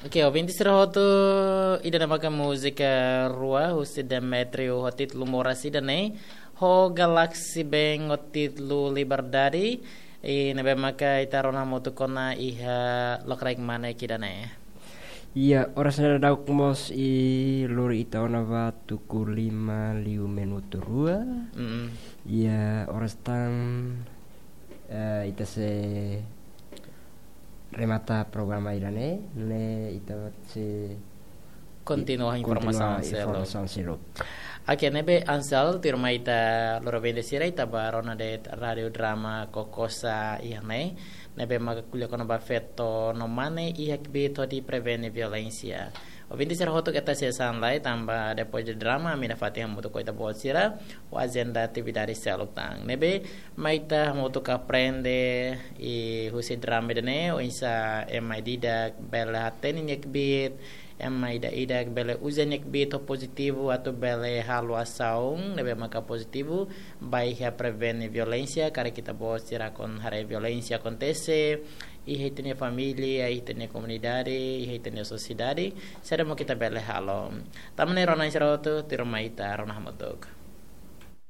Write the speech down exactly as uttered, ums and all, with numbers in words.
Oke, ouvinte sira hotu, ida-ne'e maka múzika rua husi Demetrio ho títulu Moras ida-ne'e, ho Galaxy Band ho títulu Liberdade, i ne'ebé maka ita rona hamutuk ona iha lokraik mane ida-ne'e. Iya, oras ne'e daudauk mós i lori ita ona ba tuku lima liu minutu rua. Mm-mm. Iya, oras tan, eh, ita sei remata programa ida-ne'e, ne'e ita sei kontinua informasaun seluk. Informasaun seluk. Oke, ne'ebé Ansel, tuirmai ita loro bende sira ita bá rona de'it Rádio Drama Kokosa iha ne'e, ne'ebé maka ko'alia kona-ba feto no mane iha kbiit hodi prevene violénsia. Ouvinte sira hotu keta hanesan lai tanba depois de drama, ami nafatin hamutuk ho ita-boot sira, ho ajenda atividade seluk tan. Ne'ebé mai ita hamutuk aprende i husi drama ida-ne'e, oinsá ema ida-idak bele hatene nia kbiit, ema ida-idak bele uza nia kbiit ho pozitivu atu bele halo asaun ne'ebé maka pozitivu, ba iha prevene violénsia, karik ita-boot sira kona haree violénsia akontese iha ita-nia família, iha ita-nia komunidade, iha ita-nia sosiedade, saida mak ita bele halo. Tanba ne'e rona sira hotu, tuirmai ita rona hamutuk.